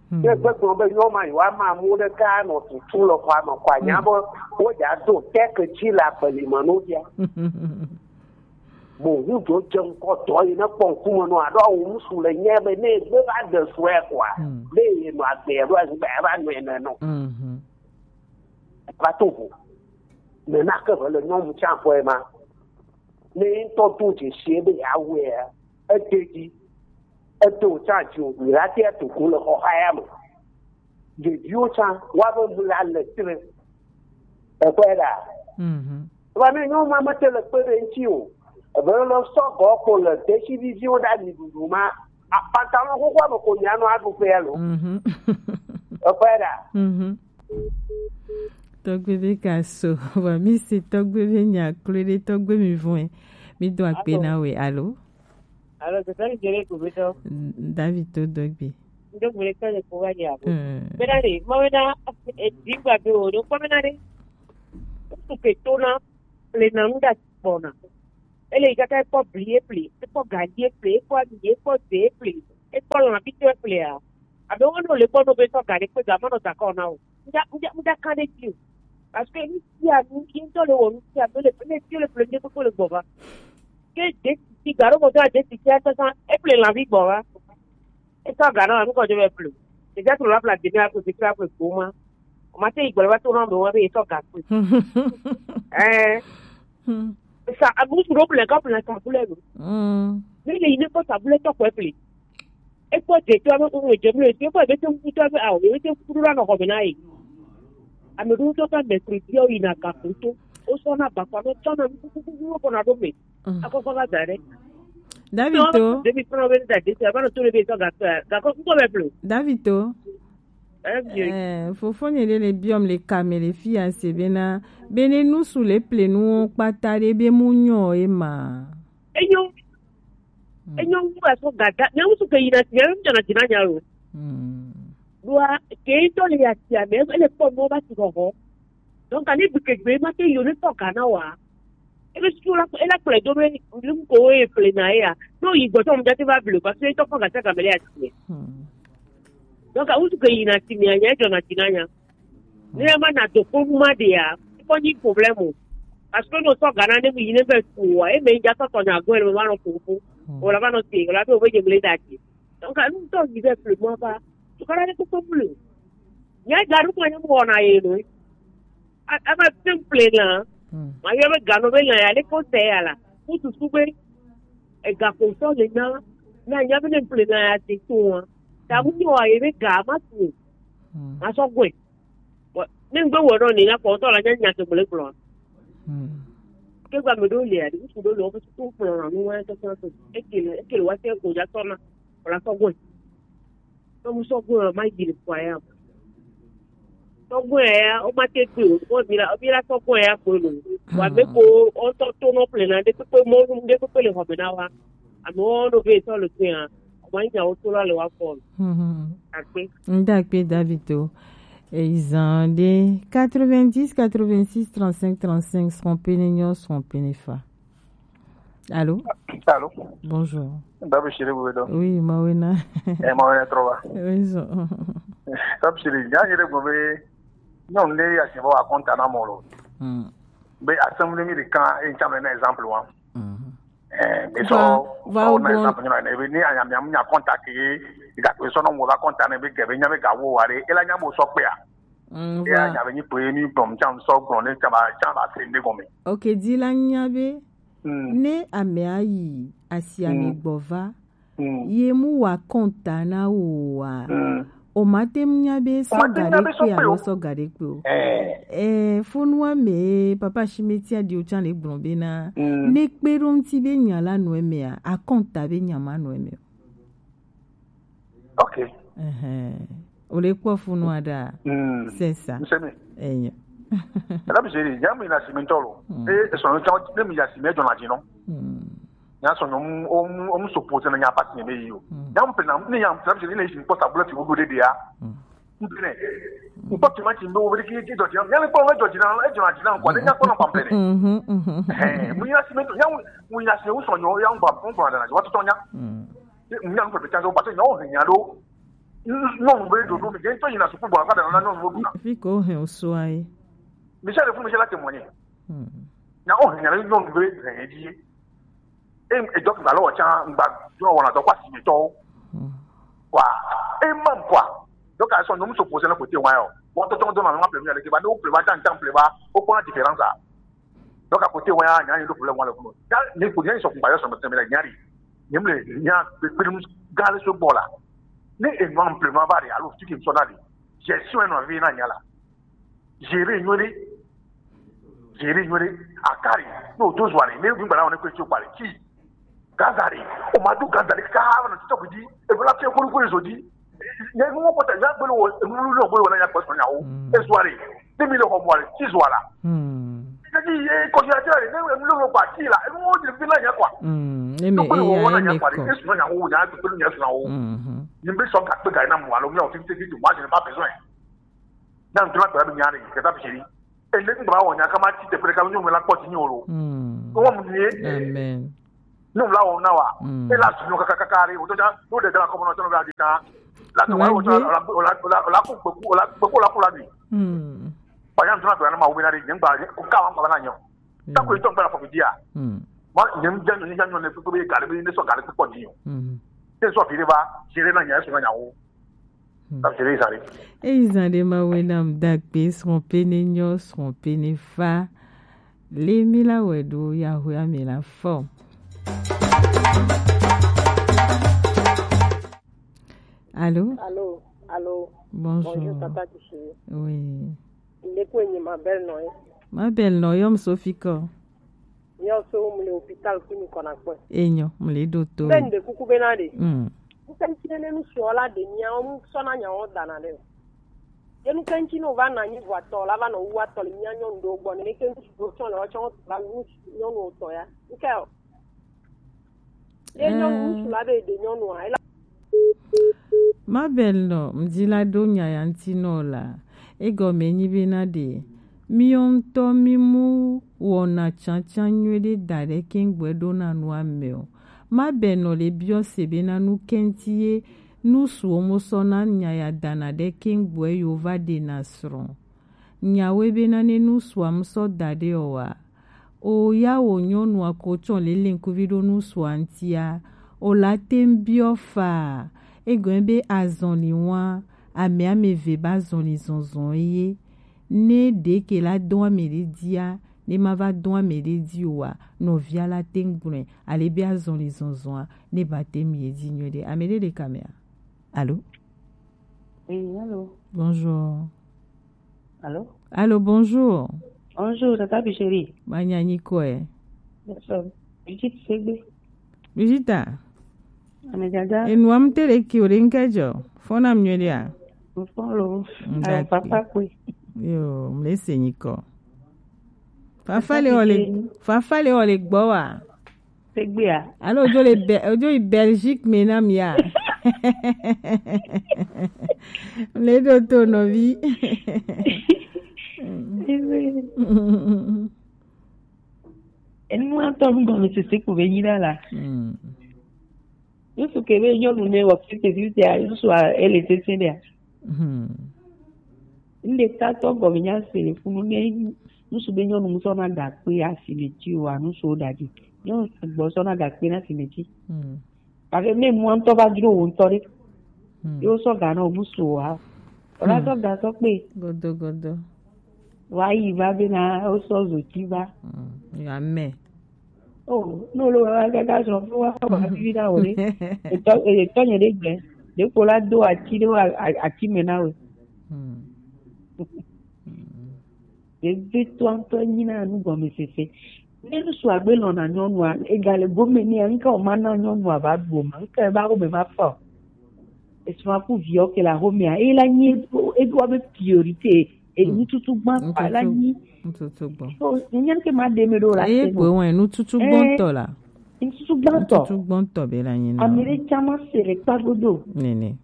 Hmm. Ke gbegblɔ be nyɔma yewoa ma amewo ɖeka nɔ tutu le xɔa me ko anya be wodza do teke tsi le agbeli me no bia. Mo ŋu dzo dze ŋkɔ dɔ yi ne kpɔ ŋkume nɔ aɖo awo ŋsu le nye be ne gbe va de sue koa, hmm, ne ye nɔ agbe ɖo azigba ya va nɔ ene nɔ. Mhm. Va to vo. Ne nake ve le nyɔnu tsa ƒe ma. Ne ŋutɔ do dzesi be yeawɔea, ede dzi. Eto tsa dzi o, mi la tia to ko le xɔxa ya me. Ɖeviwo tsa, woabe mu la le tre. Ekpɔe ɖa. Mhm. Vɔ ne nyɔnu ma mete le kpe ɖe ŋuti o. Ebe le sɔgɔ ko le desi viviwo ɖa mi ɖuɖu ma. A-, pantalon xoxoa me ko mi anɔ aɖu ƒea lo. Mhm. Ekpɔe ɖa. Mhm. Tɔgbe be ka so, vɔ mi se tɔgbe be nya kloe ɖe tɔgbe mi vɔe. Mi do akpe na we, alo? Alo, tete ni jere ko be tɔ. David to dɔgbe. Ndo gbe le tɔ le ko wa ya ko. Mm. Bena de, mo bena, e, di gba be o, do ko bena de. Ko ke to na, le na nda kpɔna. Ele yi kaka ekpɔ bli eple, ekpɔ gaji eple, ekpɔ abi eple, ekpɔ ze eple, ekpɔ lã bitɔ eple a. Abe wo no le kpɔ no be sɔ ga ɖe kpe ga ma nɔ da kɔ na o. Ŋdza, ŋdza, ŋdza kan ɖe dzi o. Parce que nu sia nu, yi ŋutɔ le wɔ nu sia nu, le, le fi le ple ŋdekpekpe le gbɔ va. Ke de ti ga ɖo mɔ tɔ de ti tia sasa, eple lãvi gbɔ va. Esɔ ga na nu kɔ dzo be ple. Ɖevia trɔ la ƒle ademi ako zikpui aƒle gbo ma. O ma te yi gbɔ le va to na amewo be esɔ ga kpui. Ɛɛ. Hmm. Sa abu su ɖo ƒle kɔ ƒle sa ƒle lo. Mm. Ne le yi ne kpɔ sa ƒle tɔ kɔe ƒle. Ekpɔ dze to abe ŋun dze ƒle to ekpɔ ebe te ŋku to abe awo ebe te ŋku ɖo la nɔ xɔ me na ye. Ame ɖewo tɔ ka mercredi o yina gakpo to. Wosɔ na bakpa nɔ tsɔ na nukukuku wo kɔ na ɖo me. Mm. Akɔkɔ va da ɖe. David to. Ɖevi fana be da desi ava nɔ to ɖe be sɔ ga, gakɔ ŋkɔ bɛ ƒle. David to. Eh, fofonye ɖe le biɔm le kame le fi ya se bena, bene nusu le ple nuwo kpata ɖe be mu nyɔ ye ma. Enyo. Hmm. Enyo wu aso gada. Nya musu ke yina ti, nya jana jina nya lo. Hmm. Dua, ke to le ya ti ame, ele kpɔ no ba ti ho ho. Donc, ani bi ke gbe ma ke yo ne to kana wa. Ebe susu la, ela kplɔe do be nu ko ye ƒle na ya. No yi gbɔtɔ mu jate va ble, parce que tɔ kɔ gata gamele ya ti. Hmm. Donc, awu ke yina ti mi anya jɔ na ti na nya. Ne ma na do ko ma de ya, ko ni problème o. Parce que no sɔ gana ne mi yi ne be ko wa, e me ja sɔ tɔ nya go le ma no ko ko. Hmm. O la ba no te, o la be o be je ble da ti. Donc, anu tɔ yi be ƒle mo ba. Tu kana ne ko ko ble. Nya ga ru ko ne mo na ye no. A, a ma tem ple na. Hmm. Ma yɔ be gano be na ya le ko se ya la. Ku tu su be. E ga ko so le na. Na nya be ne ple na ya ti to wa. Ta mu ni wa ye be ga ma tu. Hmm. Ma so gwe. Wa, ne ngbe wo no ni na ko to la nya nya to ble klo. Hmm. Ke gba me do le ya, di ku do lo ko tu klo na nu wa to so. E ke le, e ke le wa se ko ja to na. Ko la so gwe. Tɔgbu sɔgbe ma yi le kɔa ya. Tɔgbu ya, o ma te gbe o, o mi la, o mi la tɔgbu ya ko lo. Wa be ko, o tɔ to no ple na, de kpekpe mo, de kpekpe le xɔ me na wa. Ame wo no be tɔ le to ya, o ma nya o to la le wa fɔ. Mhm. Akpe. Nda kpe David to. E, izan de quatre-vingt-dix, quatre-vingt-six, trente-cinq, trente-cinq, son pene nyo, son pene fa. Allô? Allô? Bonjour. Dabi Siri Bubedo. Oui, Mawena. Eh, Mawena Trova. Oui, so. Dabi Siri, nya yere go be, nyɔnu ɖe ya si vɔ akɔnta na mɔ lo. Hmm. Be assemblée mi ɖeka, e ŋtsa me na exemple wa. Hmm. Eh, be so, va, va so na exemple nyɔnu ne be ni anya mi anya kɔnta ke, ga ko so no mo va kɔnta ne be ke be nya be ga wo wa re, e la nya mo so pe a. Mm, e voilà. Anya be nyi pe mi gbɔm ŋtsa sɔ gblɔ ne ŋtsa ba, ŋtsa ba se ne gɔme. Ok, di la nya be, mm, ne ame ayi asi ame, mm, gbɔ va, mm, ye mu wa kɔnta na wo wa. Mm. O O ma te ŋu nya be sɔ ga ɖe kpe alo sɔ ga ɖe kpe o. Eh, fonu wa me papa Shimeti Adio tsa le gblɔ be na ne kpe ɖo ŋuti be nya la nɔ eme a, akɔnta be nya ma nɔ eme o. Ok. Ɛhɛn. O le kpɔ fonu a ɖa. Mm. C'est ça. Ŋsɛmɛ. Enyo. Ela bi seri, nya mi na simi ntɔ lo. Mm. E, e sɔnɔ ntɔ, ne mi ya simi ejɔ na dzi nɔ. Mm. Nya sɔnɔ mu, o mu, o mu so po se na nya pasi ne yi o. Mm. Nya mu pe na, ne nya mu pe na, ne yi kpɔ sabula fi wo do de de ya. Mm. Mu pe ne. Mu kpɔ tuma ti ndo wo de ki, ki dɔ dzi na. Nya le kpɔ wo dɔ dzi na, ejɔ na dzi na nkwa, ne nya kpɔ na kpampe ne. Mhm, mhm. Eh, mu ya simi ntɔ, nya mu, mu ya simi wo sɔnɔ, ya nkwa, nkwa na dzi, wa tɔtɔ nya. Mm. Ye ŋu nya nu pɛpɛ tsa, parce que nyawo hɛn nya ɖo. Nyɔnu be ɖoɖo mi, ŋutɔ yina suku gbɔ, afa ɖe na nyɔnu ɖo ɖuna. Fi ko hɛn o sua ye. Michel fún Michel la témoigné. Hmm. Nyawo hɛn nya ɖo nyɔnu be hɛn ye dzi. E, e dɔ gba lɔ tsa, gba dɔ wɔna dɔ kwa si mi tɔ. Hmm. Kwa, e mam kwa. Donc, à son nom, se poser le côté, ouais. Bon, tonton, donne ma pleurer avec, bah, nous pleurer, tant, tant pleurer, au point de différence, là. Donc, à côté, ouais, il y a une problème, moi, le boulot. Il y a une problème, ils sont comparés sur notre thème, il y a rien. Il y a le, il y a le, le, le, gale ce bord-là. Ne, et non, plus, ma va aller, alors, tu qui me sonnes aller. Gestion, et non, vie, non, il y a là. Gérer, ignorer. Gérer, ignorer. Akari. Non, deux soirs, mais vous, voilà, on est que tu parles. Qui? Gazari. O ma du Gazari, ka, on a tout dit. Et voilà, tu as compris, ils ont dit. Ne nu wo kpɔtɔ ya gbolo wo, nu nu gbolo wo na ya kpɔtɔ ya wo. Mm. Ezuari. Ne mi le xɔ mɔ le, ti zuara. Mm. Ne ni ye kɔsi ati la, ne nu lo gba ti la, nu wo di fi na ya kwa. Mm. Eme e ya eme kɔ. Esu na ya wo, ya gbolo ya su na wo. Mhm. Ni be sɔ ka pe ga na mo alo mi o ti ti ti mo a je pas besoin. Na ntula pe la bi nya re, ke ta bi seri. Ele n gba wo nya kama ti te pre ka nyu me la kpɔ ti nyu lo. Mm. Wo mu ni. Amen. Nyu la wo na wa. Mm. E la su nyu kaka kaka re, o to ja, no de la ko no to la di na. La to wa wo to la la la ku ku la ku la ku la ni. Mm. Ba ya ntula pe na ma wo na re, n gba ko ka wa ba na nyo. Ta ko to gba la ko dia. Mm. Ma ni n ja nyu ni ja nyu ne ko be ga le be ne so ga le ko ti nyu. Mm. Te so fi re ba, jere na nya so na nya wo. Eyi zan ɖe ma wɛ nam dagbe srɔ̃ pe ne nyɔ srɔ̃ pe ne fa. Le mi la wɛ ɖo yahoya mi la fɔ. Allô? Allô, allô. Bonjour. Bonjour, Tata Kishiri. Oui. Ndeko enyi ma belle nɔ ye. Ma belle nɔ yɔm Sophie kɔ. Miawo so mu le hôpital ku mi kɔna kpɔe. Enyo, mu le ɖo to. Be nde kuku be na de. Mm. Kuka nti ne mi so la de miawo mu so na nyawo dana de. Ye nu ke nti no va na nyi vɔ atɔ la va nɔ wu atɔ le mia nyɔnu ɖewo gbɔ ne ke ŋutsu ɖewo tsɔ le woatsɔ la wu nyɔnu tɔ ya. Nke o. Ye nyɔnu ŋutsu la be de nyɔnua, ela. Ma belle nɔ, mdi la ɖo nya ya ŋuti nɔ la. Egɔme nyi be na ɖe, miwo ŋutɔ mi mu wɔna tsantsan nyuie ɖe da ɖe keŋ gbɔe ɖo na nua me o. Ma belle nɔ le biɔ se be na nu ke ŋuti ye nu suwo mo sɔ na nya ya dana ɖe keŋ gbɔe yo va ɖe na srɔ̃. Nyawoe be na ne nu sua mu sɔ da ɖe o wa. O ya wo nyɔnua ko tsɔ lele ŋkuvi ɖo nu sua ŋtia. O la te ŋ biɔ fa. Egɔme be azɔli wa. Ame ame ve ba azɔli zɔzɔ ye. Ne ɖe ke la dɔn ame ɖe dia, ne ma va dɔn ame ɖe di o wa. Nɔvia la te ŋ gblɔe. Ale be azɔli zɔzɔa, ne ba te ŋ ye di nyuie ɖe. Ame ɖe le kamea. Allô? Oui, allô. Bonjour. Allô? Allô, bonjour. Bonjour, Tata Bicheri. Manya nyi kɔe. Bonjour. Brigitte Segbe. Brigitta. Ame dada. Enua mu te le ki o le ŋke jɔ. Fɔ na mu nyuie ɖea? Mo fɔ lo. Ayo, papa kwe. Yo, mu le se nyi kɔ. Fafa le o le, fafa le o le gbɔ wa. Tegbea. Alo odzo le Be-, odzo yi Belgique me na mia. Le ɖo to nɔvi. Enu atɔ nu gɔme sese ko be nyi ɖa la. Mm. Yesu ke be nyɔnu ne wɔ fifty fifty a, Yesu a ele sese ɖea. Mhm. Ŋɖe tatɔ gɔme nya se le funu ne ŋutsu be nyɔnu ŋutɔ na gakpe asime dzi o, anu so da dzi. Nyɔnu sɔgbɔ sɔ na gakpe na asime dzi. Hmm. Parce que ne nua ŋutɔ va dzro wo ŋutɔ ɖe, hmm, ye wosɔ ga na wo ŋutsu o ha. Wòla sɔ ga sɔ kpe. Godo, godo. Wa yi va be na wosɔ zo dzi va. Hmm. Ya me. Oh, no lo wa gaga srɔ̃ fo wa wa vivi na wo ɖe. Etɔ, etɔ nye ɖe gbe. Ɖeko la do ati ɖe a- a- ati me na we. Hmm. Vevitɔ ŋutɔ nyi na nu gɔmesese. Ne ŋutsu agbe lɔ̃na nyɔnua, egale gome nɛ, ŋke wòma na nyɔnua va ɖu o ma, ŋke va xɔme va fa o. Esrɔ̃a ku viwo ke le axomea, eye la nyi eɖo- eɖo abe priorité, e- Hmm. nututu gbã kpa la Nututu- nyi. Nututu gbɔ. So, nya ke ma ɖe me ɖo la Eye se kpoe no. Wɔe nututu Eh, gbɔntɔ la. Nututu gbãtɔ. Nututu gbɔntɔ be la nyi na. Ame ɖe tsã ma se le kpa godo. Nene.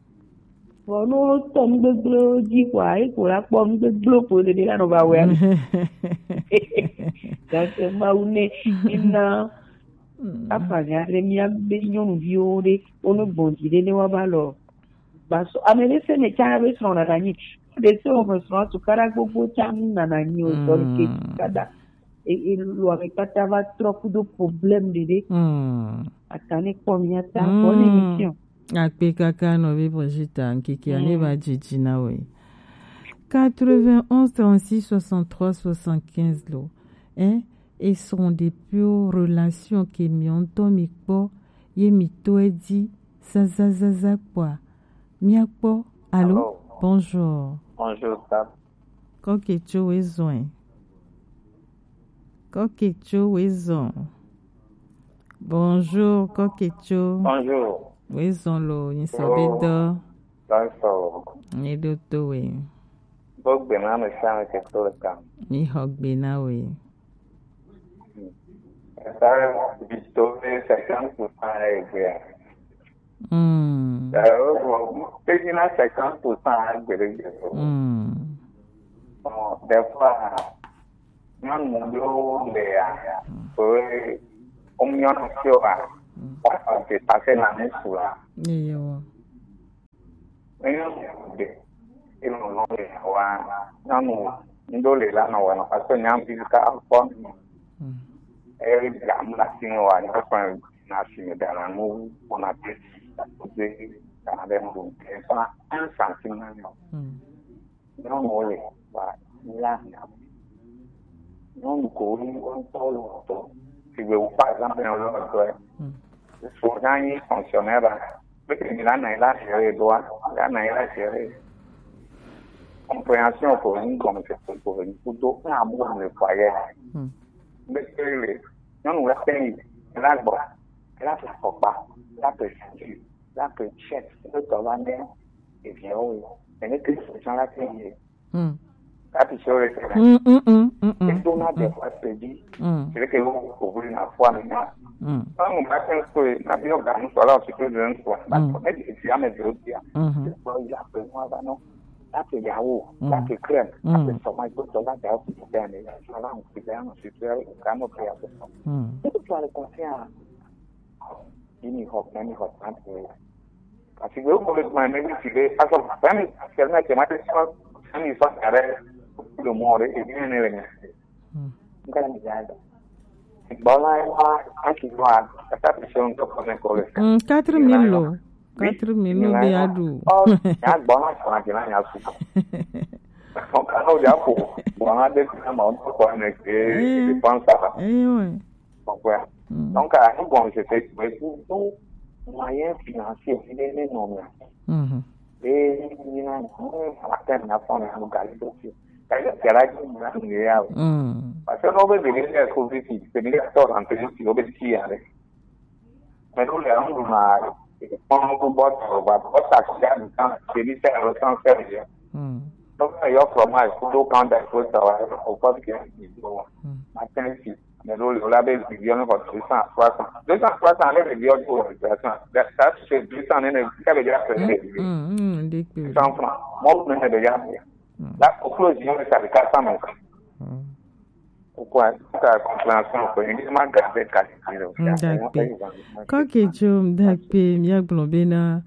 Vɔ ne wotɔ nu gbegblẽwo dzi kɔa, ye ko la kpɔ nu gbegblẽwo ko ɖeɖe la nɔ va wɔe ame. Gake Mawu ne ena Mm. afa nya ɖe mía be nyɔnuviwo ɖe wo ne gbɔn dzi ɖe ne wa va lɔ gbasɔ. Ame ɖe se ne tsã be srɔ̃ nana nyi. Ɖe se wo me srɔ̃ tukaɖa gbogbo tsã nana nyi o sɔ ke Mm. tukaɖa. E e lo ame kpata va trɔ kudo problème ɖeɖe. Mm. Ata ne kpɔ mía ta Mm. Bonne émission. Akpe kaka nɔvi Brigitte, ŋkeke ane Mm. va dzidzi na we. Quatre-vingt-onze trente-six soixante-trois soixante-quinze lo. Hein? Et sont des pures relations ke mi ŋutɔ mi kpɔ ye mi tɔe dzi zazazaza kpɔa. Mia kpɔ. Allô? Allô? Bonjour. Bonjour, Sam. Kɔketso wezɔn. Kɔketso wezɔn. Bonjour, Kɔketso. Bonjour. Wezɔn lo, nyi sɔ be dɔ. Bonjour. Ni do to we. Bo gbe na me sa me ke to le kam. Mi xɔ gbe na we. Esa bi to be cinquante pour cent e gbe. Mm. Eh, bon, pe ni na cinquante pour cent a gbe de gbe. Mm. Bon, des fois, nyɔnu ɖewo le ya, ƒe womiɔna tsi o a, woaxɔ depase na ŋutsu la. Eyewo. Ne nyɔnu ɖe, enɔ nɔ le wa, nyɔnu ŋɖo le la nɔ wɔna, parce que nyɔnuvi ka kpɔ. Mm. Eri gamu la si ne wa, nyɔnu kpɔ na si ne dana nu wɔna te si, te dana ɖe nu ɖo, te fa un centime na nyɔ. Mm. Nyɔnuwo le va la nya. Nyɔnu ko wo ŋutɔ le wɔtɔ. Sigbe wo, par exemple, ne wo le wɔtɔ, Mm. so na nyi fonctionnaire la. Peut-être il a na il a géré droit, il a na il a géré. Compréhension ko ni gɔmesese ko ni kudo na mo le foyer. Mm. Peut-être le nyɔnu la pe yi la gbɔ, la pe kɔkpa, la pe sisi. La pe check, le tɔ va ne eviawo ye. Ene ke solution la ke ye. Hmm. La pe solution le ke. Hmm, hmm, hmm, hmm, hmm. Edo na de kwa pe di. Hmm. C'est que vous pouvez na foi na. Hmm. Ba mo ba ke so na bi o ga mo so la o si pe de so. Ba Hmm. ko ne di ti ame de o dia. Mhm. Ko ya pe mo ba no. La pe yawo, la Hmm. pe crème, la pe Hmm. so ma go to la da o pe ya ne. La mo pe ya no si pe ya ka mo pe ya pe. Hmm. Tout le monde conscient. Yi mi xɔ kpɛ, mi xɔ trente mille. Parce que wo le gblɔ ne mi si be azɔ vingt mille actuellement, c'est ma sɔ vingt mille sɔ da ɖe le mɔ ɖe ebi ne le nya. Hmm. Nga mi ya da. Gbɔ la wa asi wa kata pe sɔ ŋutɔ kɔ ne kɔ le. Hmm, quatre mille lo. Oui. Quatre mille lo be aɖu. Oh, ya gbɔ na sɔ na ke na nya su. Ɔ ka no ya ko. Gbɔ na de na ma ŋutɔ kɔ ne ke. Eh. Dépense ça. Eh ouais. Kpɔkpɔe. Mm. Donc, à nous, bon, je fais, mais pour nous, moyen financier, il est énorme. Mhm. Et il y a un matin, il y a un gars qui est aussi. C'est là que nous avons eu. Mm. Parce que nous, on veut venir à Covid, c'est venir à tort en plus, on veut dire, allez. Mais nous, les gens, on a, on a beaucoup de bot, on va, bot, ça, c'est un temps, c'est lui, c'est un ressent sérieux. Mm. Donc, il y a fromage, pour nous, quand il faut travailler, on peut bien, Mm. matin, ici. Mais là, là, ben, il vient encore deux cents, trois cents. Deux cents, trois cents, là, il vient pour l'opération. Ça, ça, c'est deux cents, là, ça veut dire que c'est Mm, mm, des deux cents francs. Moi, vous venez de dire. Mm. Là, au close, il y a ça, les quatre cents mètres. Mm. Pourquoi? Sa compréhension, quoi. Il m'a gardé, quoi. Mm, d'accord. Kɔketso, d'accord, mi gblɔ bena,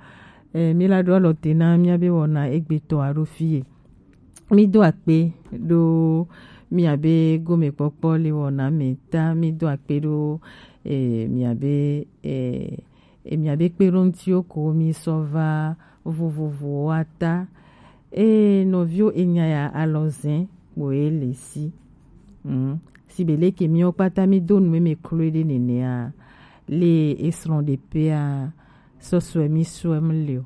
eh, mi la ɖo alɔ te na mi be wɔna egbetɔ alo fie. Mi do akpe ɖo miabe gomekpɔkpɔ le wɔna me ta. Mi do akpe ɖo, eh, miabe, eh, eh, miabe kpeɖoŋutiwo ko mi sɔ va vovovowoa ta. Eh, nɔviwo, enya ya alɔzɛn kpoe le si. Mm. Si be leke miwo kpata mi do nu me kloe ɖe nenea, le esrɔ̃ ɖe pea, sɔsɔe mi sɔe mi le o.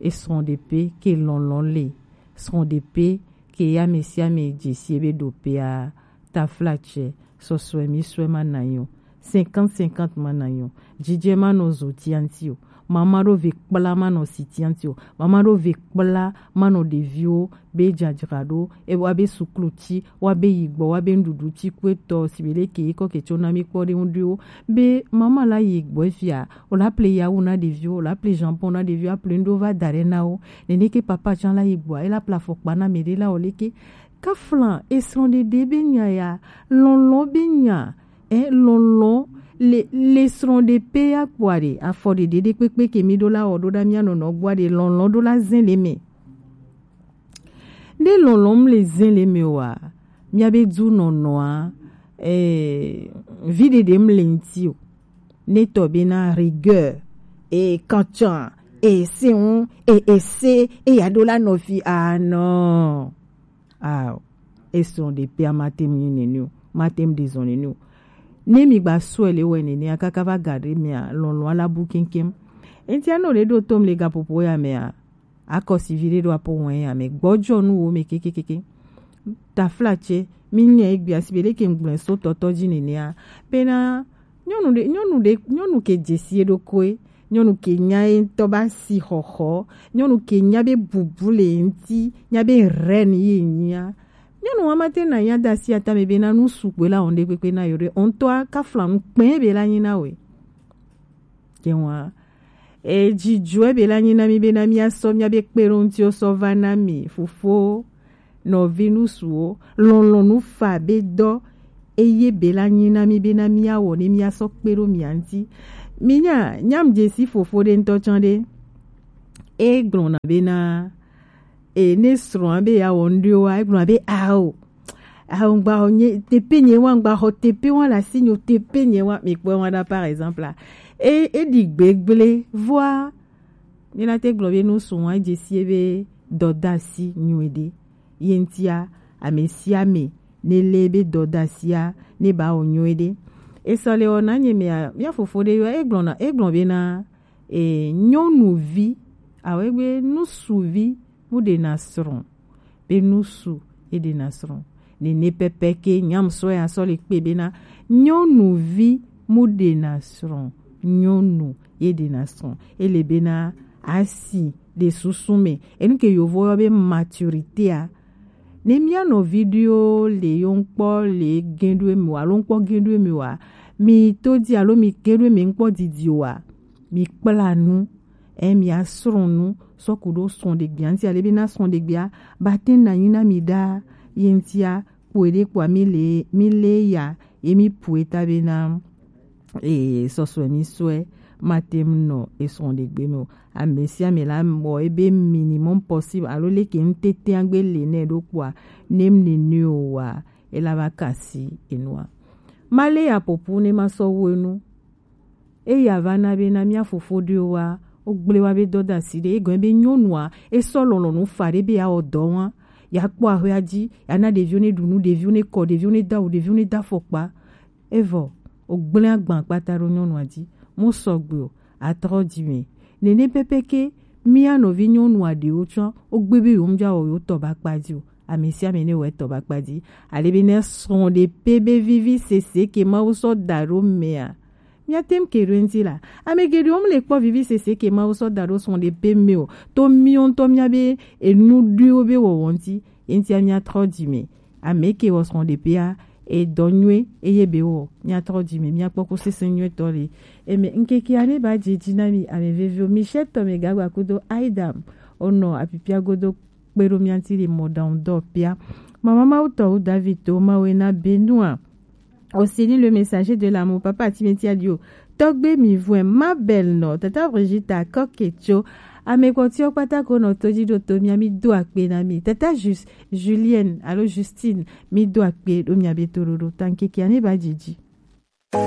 Esrɔ̃ɖepe ke lɔlɔ̃ le. Srɔ̃ɖepe ke ya ame sia ame dze si ebe ɖo pea, taflatse, sɔsɔe mi sɔe ma na nyo. Cinquante cinquante ma na nyo. Jijɛ ma nɔ zo tianti o. Mama ɖo ve kpla ma nɔ si tianti o. Mama ɖo ve kpla ma nɔ ɖeviwo be dzadzra ɖo, e wa be suklu ti, wa be yi gbɔ, wa be nuɖuɖu ti ku etɔ, si be leke yi kɔ ke tso na mi kpɔ ɖe ŋu ɖo. Be mama la yi gbɔ efia, o la ple yawu na ɖeviwo, o la ple jambon na ɖeviwo, a ple ŋɖo va da ɖe na wo. Nene ke papa tsã la yi gbɔ, e la ple afɔkpa na me ɖe la o leke. Kafla esrɔ̃ɖeɖe be nya ya, lɔlɔ̃ be nya, e lɔlɔ̃ le, le srɔ̃ɖepe ya kpɔa ɖe, afɔ ɖeɖe ɖe kpekpe ke mi ɖo la wɔ ɖo ɖa mia nɔnɔ gbɔa ɖe, lɔlɔ̃ ɖo la zɛn le me. Ne lɔlɔ̃m le zɛn le me wa, mia be du nɔnɔa, eh, vi ɖeɖem le ŋti o. Ne tɔ be na rigueur, e kantsan, e seun, e ese, e ya ɖo la nɔvi, ah non. Ah, esrɔ̃ɖepea ma tem nyi nene o, ma tem ɖe zɔn nene o. Ne mi gba sɔe le wɛ nene a kaka va ga ɖe mea, lɔlɔ̃ ala bu keŋkeŋ. Ŋti anɔ ɖe ɖo tom le gaƒoƒo ya mea, akɔsi vi ɖe ɖo apo wɔn ya me gbɔjɔ nu wo me kekekeke. Taflatse, mi nya egbe asi be ɖe ke ŋgblɔe so tɔtɔ dzi nenea. Bena nyɔnu ɖe, nyɔnu ɖe, nyɔnu ke dzesi eɖokoe, nyɔnu ke nya ye ŋutɔ ba si xɔxɔ, nyɔnu ke nya be bubu le ŋti, nya be reine ye nyia. Nyɔnu wa ma te na nya da si atame bena nu sukpe la wɔn ɖe kpekpe na yo ɖe, ŋutɔa kafla nu kpɛ be la nyi na we. Ke wa, e, dzidzɔe be la nyi na mi bena mia sɔ mia be kpe ɖo ŋti o sɔ va na mi, fofo, nɔvi, nusuwo, lɔlɔ̃ nu fa be dɔ, eye be la nyi na mi bena mia wɔ ne mia sɔ kpe ɖo mia ŋti. Mi nya, nyam dzesi fofo ɖe ŋutɔ tsã ɖe. E gblɔna bena, e, ne srɔ̃a be ya wɔ ŋɖewo wa, e gblɔna be ao, ao ŋgba xɔ nye tepe nye wa, ŋgba xɔ tepe wa le asi nyo tepe nye wa. Mi kpɔe wa ɖa, par exemple, a, e, e ɖi gbegble, vɔa, mi la te gblɔ be nu srɔ̃a dzesie be dɔdasi nyuie ɖe. Ye ŋtia, ame sia ame ne le be dɔdasia ne ba wɔ nyuie ɖe. Esɔ le wɔ na nye mea, mia fofo ɖe yɔ, e gblɔna, e gblɔ bena, e, nyɔnuvi, awo egbe nusuvi mu ɖena srɔ̃, be nusu e ɖena srɔ̃. Nene pɛpɛ ke nyam sɔ ya sɔ le kpe bena nyɔnuvi mu ɖena srɔ̃, nyɔnu ye ɖena srɔ̃. Ele bena asi ɖe susu me. Enu ke yovo yɔ be maturité a. Ne mia nɔvi ɖewo le yo ŋkpɔ le gɛ̃ɖoe me o, alo ŋkpɔ gɛ̃ɖoe me o a, mi to di alo mi gɛ̃ɖoe me ŋkpɔ didi o a, mi kpla nu, e, mi asrɔ̃ nu, sɔ ku ɖo srɔ̃ɖegbea ŋti, ale be na srɔ̃ɖegbea ba te na nyi na mi ɖa ye ŋtia, kpoe ɖe kpoa mi le, mi le ya, ye mi pue ta be na, e, sɔsɔe mi sɔe, ma te ŋu nɔ esrɔ̃ɖegbe me o. Ame sia ame la mɔ ebe minimum possible, alo leke ŋtete agbe le nɛ ɖo kpoa, ne mi nene o wa, e la va kasi enua. Ma le ya popu ne ma sɔ wo enu. Eya va na be na mia fofo ɖewo wa, wo gble wa be dɔdasi ɖe, egɔn be nyɔnua, e sɔ lɔlɔ̃nu fa ɖe be ya wɔ dɔ wa, ya kpɔ ahwea dzi, ya na ɖeviwo ne ɖu nu, ɖeviwo ne kɔ, ɖeviwo ne do awu, ɖeviwo ne do afɔkpa. Evɔ, o gble agban kpata ɖo nyɔnua dzi, mo sɔgbe o, atrɔ dzi me. Nene pɛpɛ ke, mia nɔvi nyɔnua ɖewo tsã, wo gbe be yo ŋdza wɔ yo tɔ ba kpa dzi o. Ame sia ame ne wɔ etɔ ba kpa dzi. Ale be ne srɔ̃ɖepe be vivi sese ke Mawu sɔ da ɖo mea, mia tem ke ɖo ŋti la. Ame geɖewo mu le kpɔ vivi sese ke Mawu sɔ da ɖo srɔ̃ɖepe me o. To miwo ŋutɔ mia be enu ɖuiwo be wɔwɔ ŋti. Ye ŋtia mia trɔ dzi me. Ame ke wɔ srɔ̃ɖepea, edɔ nyuie, eye be wɔ, mia trɔ dzi me, mia kpɔ ku sese nyuie tɔ le. Eme ŋkekea ne ba dze dzi na mi, ame veviwo, Michel tɔ me gagba kudo Aidam, onɔ apipia godo kpe ɖo mia ŋti le mɔɖaŋudɔ pia. Mama Mawu tɔ wu David to Mawu na Benua. Aussi ni le messager de l'amour, papa Timothy Adio. Tɔgbe mi vɔe ma belle nɔ, tata Brigitte Akɔketso. Ame kpɔtiwo kpata ko nɔ to dzi ɖo to mia, mi do akpe na mi. Tata Jus-, Julienne alo Justine, mi do akpe ɖo mia be toɖoɖo. Ta ŋkekea ne ba dzi dzi.